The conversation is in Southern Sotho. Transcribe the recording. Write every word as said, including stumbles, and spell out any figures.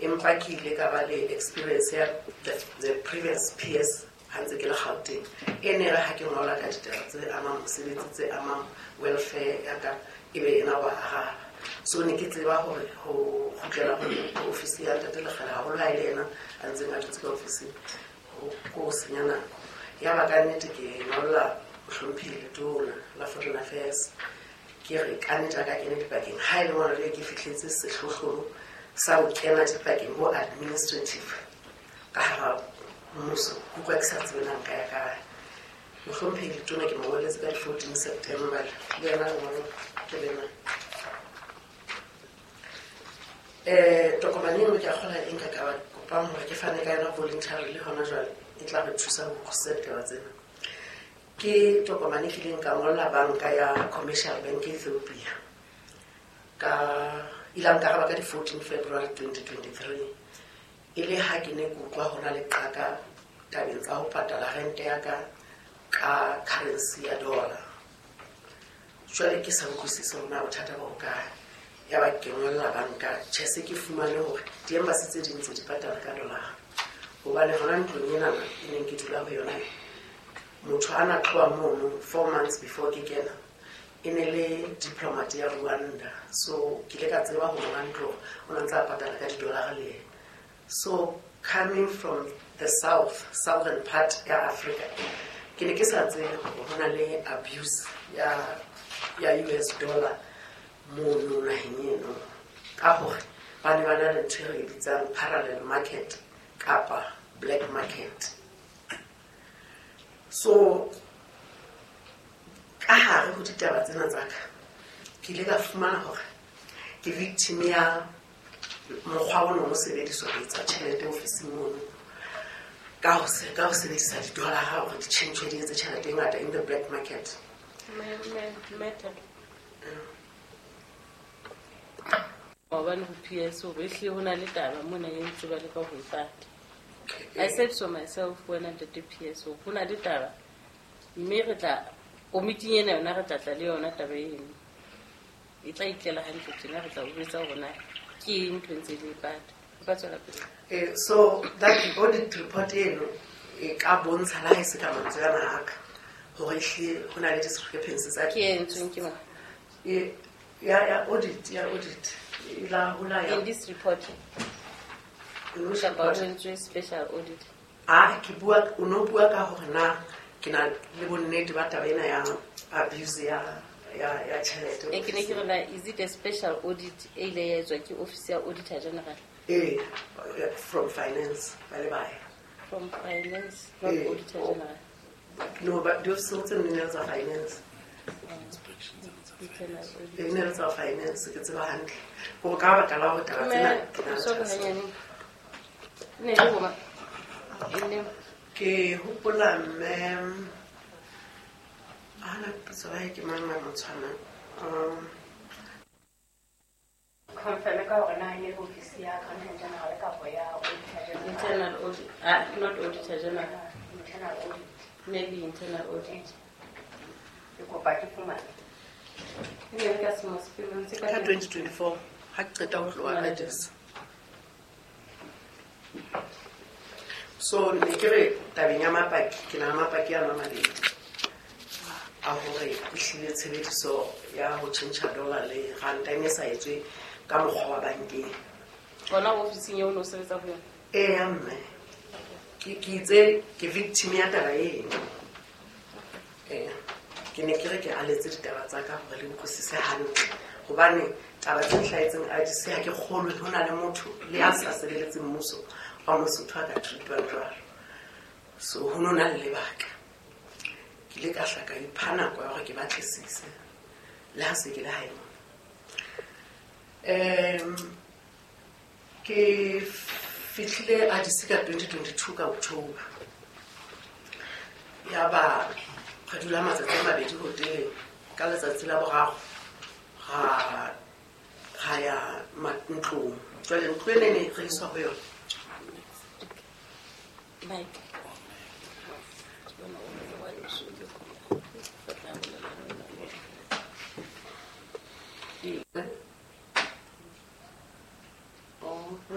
Empa ke ile ka ba le experience ya the, the previous P S ha ntse ke le Gauteng. E ne re ha ke ngola ka ditaba tse amang mosebetsi, tse amang welfare ya ka, e be ena wa araba. So ne ke tseba hore ho kgutlela ho ofisi ya Ntate Lekgele haholo ha e le yena a ntseng a dutse ka ofising, ho ko senya nako. Ya ba ka nnete ke ngolla mohlomphehi Letona la Foreign Affairs, ke re ka nnete a ka kena dipakeng. Ha e le mona jwale ke fihletse sehlohlolo sa ho kena dipakeng bo administrative ka hara mmuso, ke utlwa ke sa tsebe na nka ya kae. Mohlomphehi Letona ke mo ngolletse ka di-fourteen September, le yena lengolo ke lena. Eh, tokomane eno ke a kgolwa e nka ka ba kopang hore ke fane ka yona voluntarily hona jwale, e tla re thusa ho utlwisisa ditaba tsena. Ke tokomane e kileng ka ngolla banka ya Commercial Bank Ethiopia, ka ile a nkaraba ka di-fourteen February twenty twenty-three. E le ha ke ne ke utlwa ho na le qaka tabeng tsa ho patala rente ya ka ka currency ya dollar. Jwale ke sa utlwisise hore na bothata bo hokae. Ya ba ke ngolla banka, tjhe, se ke fumane hore di-embassy tse ding tse di patala ka dollar. Hobane hona ntlong enana e neng ke dula ho yona, motho a na tloha mono four months before ke kena, e ne le diplomat ya Rwanda. So ke ile ka tseba hore monga ntlo o na ntse a patala ka di-dollar le yena. So coming from the south, southern part ya Africa, ke ne ke sa tsebe hore ho na le abuse ya, ya U S dollar mono naheng eno, ka hore ba ne ba na le ntho e re e bitsang parallel market kapa black market. So ka hare ho ditaba tsena tsa ka, ke ile ka fumana hore ke victim ya mokgwa o neng o sebediswa ho etsa tjhelete ofising mono, ka ho se-, ka ho sebedisa di-dollar hore di tjhentjhwe di etse tjhelete e ngata in the black market. Maobane ho P S hore ehlile ho na le taba mona e ntse ba leka ho e pata. I said so myself wena Ntate P S hore ho na le taba, mme re tla komiting ena yona re tla tla le yona taba eno. E tla itlela hantle tjena, re tla o jwetsa hore na ke eng ntho e ntse le e pata. O ka tswela pele. Eh, so that audit report eno e ka bontsha le ha e se ka mantswe ana a ka hore ehlile ho na le discrepancies tsa Ke e entsweng ke mang? E, ya, ya audit, ya audit. E la ho la ya. In this report. In which Kapa report? ho entswe special audit. Ah, ke bua, o no bua ka hore na ke na le bonnete ba taba ena ya abuse ya, ya, ya tjhelete. E ke ne ke re na, is it a special audit e ile ya etswa ke office ya Auditor General? Eh, from finance, ba le bae. From finance, not Eh, Auditor General. No, but di office tse nne ne le tsa finance. Internal audit. E ne le tsa finance, ke tseba hantle. Hore ka baka la hore taba tsena Mme, ke na le sorry, thahasello. hanyane. Ne le bo mang? E ne Ke hopola mme, ana pitso ya hae ke mang a motshwana? Um, Confirm ka hore na e ne le ofisi ya Accountant General kapa ya Auditor General. Internal audit, ah, not Auditor General. Internal audit. Maybe internal audit. Ke kopa ke fumane. E ne le ka selemo se pele, ntse ka Ka twenty twenty-four, ha ke qeta ho tloha Addis. So ne ke re tabeng ya mapaki, ke na le mapaki a mabedi a hore ehlile tshebediso ya ho tjhentjha dollar le ranta e ne sa etswe ka mokgwa wa bankeng. Hona ofising eo o no sebetsa ho yona? Eya, mme. Ke, ke itse ke victim ya taba eno. Eya. Ke ne ke re ke aletse ditaba tsa ka hore le utlwisise hantle. Hobane taba tse nhlahetseng Addis ha ke kgolwe ho na le motho le a sa sebeletseng mmuso wa Mosotho a ka treatwang jwalo. So ho no na le lebaka. Ke ile ka hla ka ipha nako ya hore ke batlisise le ha se ke le hae mona. Em, ke fihlile Addis ka twenty twenty-two ka October. Ya ba re dula matsatsi a mabedi hoteleng, ka letsatsi la boraro ra, ra ya ma-, ntlong. Jwale ntlo ena e ne re iswa ho yona. Mike.